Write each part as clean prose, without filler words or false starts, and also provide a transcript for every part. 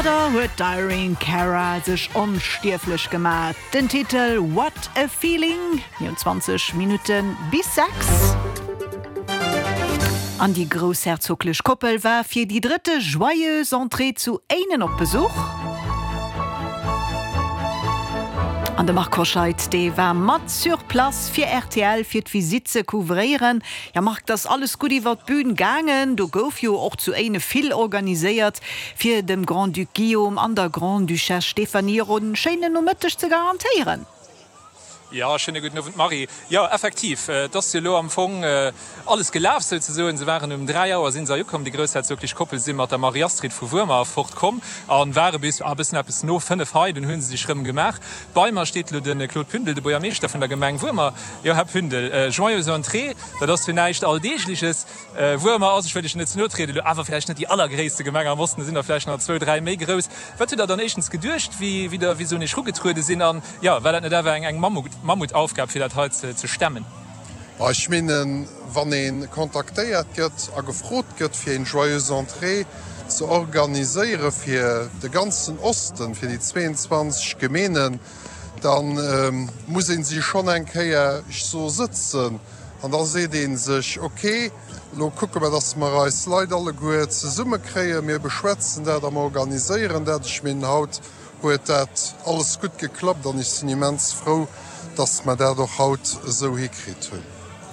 Domadder huet d'Irene Cara sech onstierflech gemat. Den Titel What a Feeling. Mir hunn 20 Minutte bis 6. An déi groussherzoglech Koppel war fir déi drëtte Joyeuse Entrée zu Éinen op Besuch. An de Marc Hoscheid, dee war mat sur place fir rtl, fir d'Visitt ze couvréieren. Jo Marc, 't ass alles gutt iwwer d'Bün gaangen. Do gouf jo och zu Éine vill organiséiert, fir dem Grand-Duc Guillaume an der Grande-Duchesse Stéphanie och en schéinen Nomëtteg ze garantéieren. Jo, schéine gudden Owend Marie. Jo, effektiv, et ass jo elo am Fong alles gelaf souzesoen. Se waren um 3 Auer sinn se hei ukomm, déi groussherzoglech Koppel si mat der Marie-Astrid vu Wuermer fort komm a ware bis e bëssen eppes no 5 hei. Dunn hu se sech rëm gemaach. Bei mer steet elo de Claude Pündel, de Buergermeeschter vun der Gemeng Wuermer. Jo, Här Pündel, joyeuse Entrée, dat ass jo näischt Alldeegleches. Wuermer ass, ech wëll Iech net ze no trieden elo, awer vläicht net déi allergréisste Gemeng am Osten, do sinn der vläicht nach zwou, dräi méi grouss. Wat hutt Der dann éischtens geduecht, wéi der, wéi se un Iech erugetruede sinn? An, jo, war dat net awer eng Mammutaufgab, fir dat hei ze stemmen? Ech menen, wann ee kontaktéiert gëtt a gefrot gëtt, fir eng Joyeuse Entrée ze organiséiere fir de ganzen Osten, fir déi 22 Gemeenen, da muss ee si schonn eng Kéier, ech soe sëtzen an da seet ee sech, ok, elo kucke mer, datt mer eis Leit alleguer zesummekréien, mir beschwätzen dat a mer organiséieren dat. Ech menen, haut huet dat alles gutt geklappt an ech sinn immens frou, dass mer dat och haut esou hikritt hunn.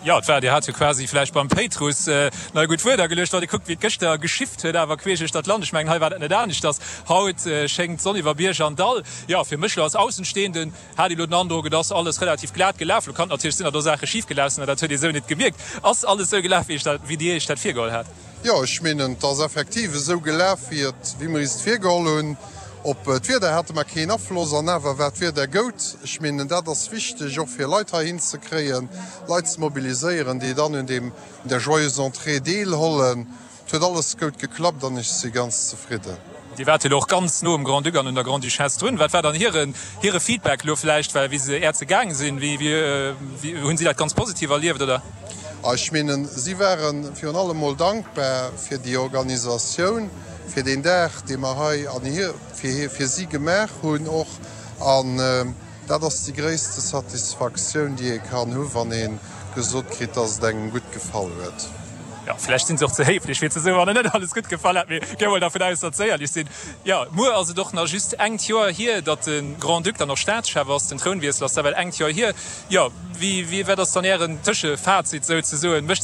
Jo, et war, Dir hat jo quasi vläicht beim Péitruss nach e gutt Wuert ageluecht, wann ee kuckt, wéi et gëschter geschifft huet, awer queesch duerch dat Land. Ech mengen, hei war dat net aneschters. Haut schéngt d'Sonn iwwer Bierg an Dall. Jo, fir mech elo als Aussenstehenden hat ee elo den Androck, et ass alles relativ glat gelaf. Elo kann et natierlech sinn, datt do Saache schif gelaf sinn, mä dat huet ee sou net gemierkt. Ass alles esou gelaf, wéi Dir Iech dat virgeholl hat? Jo, ech menen, et ass effektiv esou gelaf, wéi et, wéi mer is et virgeholl hunn. Op d'Wieder hate mer keen Afloss an awer war d'Wieder goud. Ech menen, dat ass wichteg, och fir Leit heihin ze kréien, Leit ze mobiliséieren, déi dann un deem, un der Joyeuse Entrée deelhollen. Et huet alles goud geklappt an ech si ganz zefridden. Dir waart jo elo och ganz no um Grand-Duc an un der Grande-Duchesse drun. Wat war dann hiren, hire Feedback elo vläicht, well wéi se äert se gaange sinn, wéi, wéi, hunn si dat ganz positiv erlieft, oder? Ech menen, si ware virun allem mol dankbar fir déi Organisatioun, fir deen Dag, dee mer hei an hir, fir, fir si gemaach hunn och. An dat ass déi gréisste Satisfaktioun, déi ee kann hu wann ee gesot kritt, dass et engem gutt gefall huet. Jo, vläicht sinn se och ze héiflech, fir ze soen, wann et net alles gutt gefall hat. Mee gi mol dervun aus, datt se éierlech sinn. Jo, muer ass et och nach just engt Joer hier, datt de Grand-Duc dann och Staatschef ass. Den Trounwiessel ass da well engt Joer hier. Jo, wéi, wéi, wat ass dann Ären Tëschefazit souzesoen? Mécht.